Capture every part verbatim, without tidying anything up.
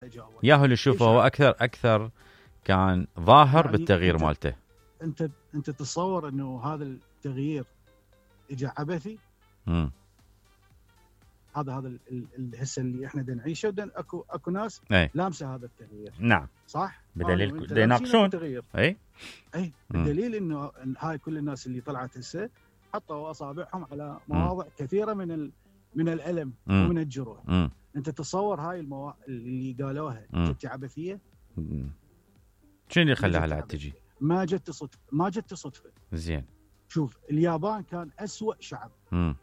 اجاوب. ياهو اللي شوفه هو اكثر اكثر كان ظاهر يعني بالتغيير انت مالته. انت انت تتصور انه هذا التغيير اجى عبثي؟ امم هذا هذا الهسه اللي احنا بدنا نعيشه، ودن اكو اكو ناس اي. لامسه هذا التغيير. نعم صح، بدليل يناقشون. اي اي الدليل انه هاي كل الناس اللي طلعت هسه حطوا اصابعهم على مواضع مم. كثيره من ال... من الالم مم. ومن الجروح. مم. انت تتصور هاي الموا... اللي قالوها جت عبثيه؟ شنو اللي خلاها لا تجي؟ ما جت صدفه، ما جت صدفه. زين شوف، اليابان كان أسوأ شعب. امم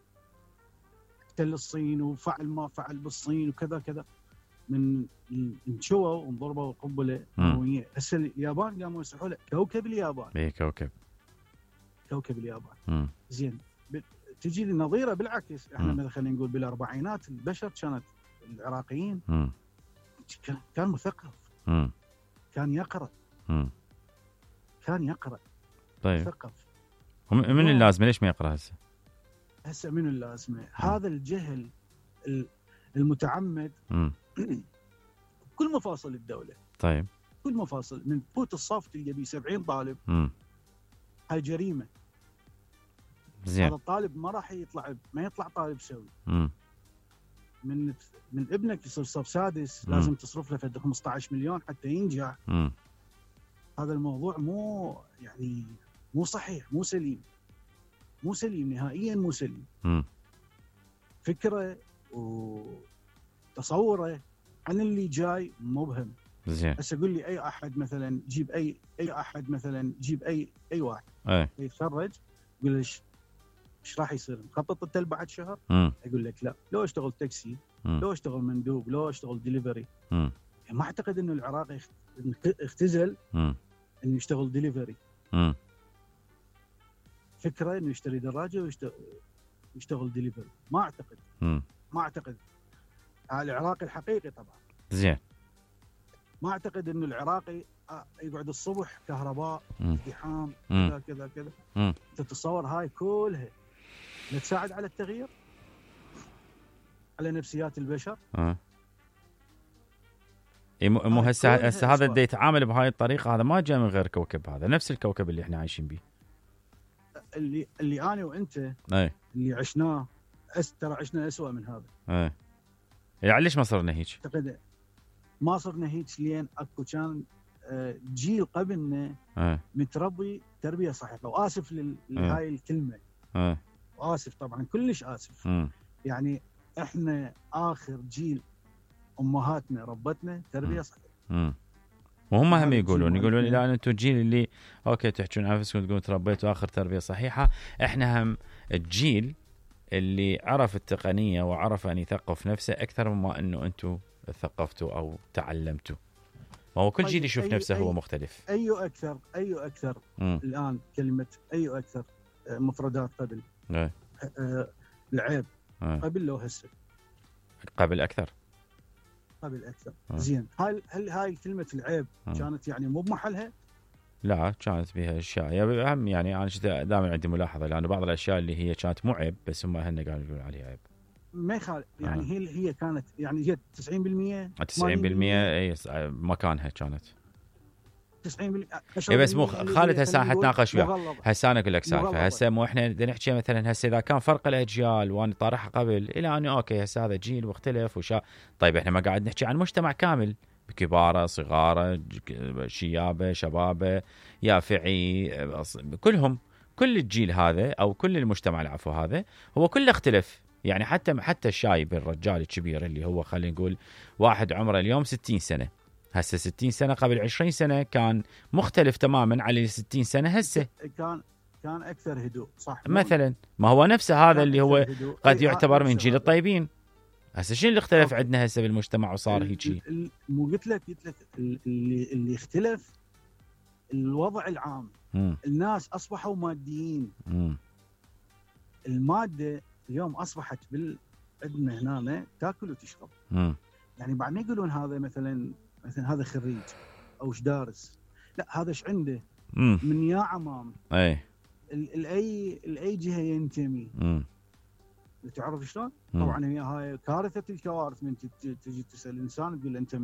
احتل الصين وفعل ما فعل بالصين وكذا كذا، من انشووا وانضربوا قنبله نوويه. هسه اليابان قاموا يصيحوا له كوكب اليابان. اي كوكب كوكب اليابان. مم. زين، تجي النظيره بالعكس. احنا مثلا خلينا نقول بالاربعينات البشر كانت العراقيين مم. كان مثقف. مم. كان يقرا. مم. كان يقرا. طيب مثقف. من اللازمه ليش ما يقرا هسه؟ هسه من اللازمه؟ هذا الجهل المتعمد كل مفاصل الدوله. طيب كل مفاصل، من بوت الصف تلقى بيه سبعين طالب. امم هاي جريمه. زين. هذا الطالب ما راح يطلع، ما يطلع طالب سوي. امم من من ابنك يصير صف سادس مم. لازم تصرف له فد خمسة عشر مليون حتى ينجح. امم هذا الموضوع مو يعني مو صحيح، مو سليم، مو سليم نهائيا، مو سليم. امم فكره وتصوره عن اللي جاي مبهم. زين. هسه قول لي اي احد مثلا، جيب اي اي احد مثلا، جيب اي اي واحد اي يتخرج، قول له ايش راح يصير؟ مخطط انت بعد شهر؟ مم. يقول لك لا، لو اشتغل تاكسي، مم. لو اشتغل مندوب، لو اشتغل ديليفري. مم. يعني ما اعتقد انه العراقي اختزل مم. انه يشتغل ديليفري. مم. فكره انه يشتري دراجه ويشتغل يشتغل ديليفري، ما اعتقد. مم. ما اعتقد. العراقي الحقيقي طبعا. زين. ما اعتقد انه العراقي يقعد الصبح كهرباء، ازدحام، كذا كذا كذا. تتصور هاي كلها تساعد على التغيير، على نفسيات البشر؟ اه مو هسه هسه هذا اللي يتعامل بهاي الطريقه، هذا ما جاء من غير كوكب، هذا نفس الكوكب اللي احنا عايشين به، اللي اللي انا وانت اي اللي عشناه. ترى عشنا اسوء من هذا. اي يعني ليش ما صرنا هيك؟ اعتقد ما صرنا هيك لين اكو كان جيل قبلنا أه. متربي تربيه صحيحه. واسف لهاي الكلمه، أه. واسف طبعا، كلش اسف. م. يعني احنا اخر جيل امهاتنا ربتنا تربيه صحيحه. م. وهم هم يقولون يقولون لا انتم الجيل اللي اوكي تحجون عن نفسكم تقولون تربيتوا اخر تربيه صحيحه، احنا هم الجيل اللي عرف التقنيه وعرف ان يثقف نفسه اكثر مما انه انتم ثقفتوا او تعلمتوا. ما هو كل جيل يشوف نفسه هو مختلف. اي اكثر اي اكثر م. الان كلمه اي اكثر مفردات قبل. أه. أه العيب. أه. قبل لو هسه قبل اكثر قبل اكثر. أه. زين، هل هل هاي كلمه العيب أه. كانت يعني مو بمحلها؟ لا، كانت بها اشياء اهم. يعني انا دائما عندي ملاحظه، لانه بعض الاشياء اللي هي كانت مو عيب بس هم هن قالوا يقولون عليها عيب. ما يخالف يعني. آه. هي هي كانت يعني هي تسعين بالمئة تسعين بالمئة اي مكانها كانت تسعين بالمئة. اي بس مو خالد هسه حتناقش وياه. هسه انا اقول لك سالفه. هسه مو احنا بدنا نحكي مثلا هسه اذا كان فرق الاجيال وانا طارحها قبل الى انه اوكي هسه هذا جيل واختلف وشا. طيب احنا ما قاعد نحكي عن مجتمع كامل بكباره صغاره شيابه شبابه يافعي كلهم. كل الجيل هذا او كل المجتمع العفو هذا هو كله اختلف. يعني حتى حتى الشايب الرجال الكبير اللي هو خلينا نقول واحد عمره اليوم ستين سنه، هسه ستين سنه قبل عشرين سنه كان مختلف تماما على ستين سنه هسه. كان كان اكثر هدوء صح مثلا. ما هو نفسه هذا اللي هو قد يعتبر من جيل الطيبين. هسه شنو اللي اختلف أوكي. عندنا هسه بالمجتمع وصار هيك. مو قلت لك قلت لك اللي اللي اختلف الوضع العام. م. الناس اصبحوا ماديين. م. الماده اليوم اصبحت بال عندنا هنا تاكل وتشرب. م. يعني بعد ما يقولون هذا مثلا مثلا هذا خريج او ايش دارس، لا هذا ايش عنده م. من يا عمام. اي الاي الاي جهه ينتمي. م. تعرف شلون؟ طبعا هي هاي كارثه الكوارث من تجي تسال انسان تقول له انت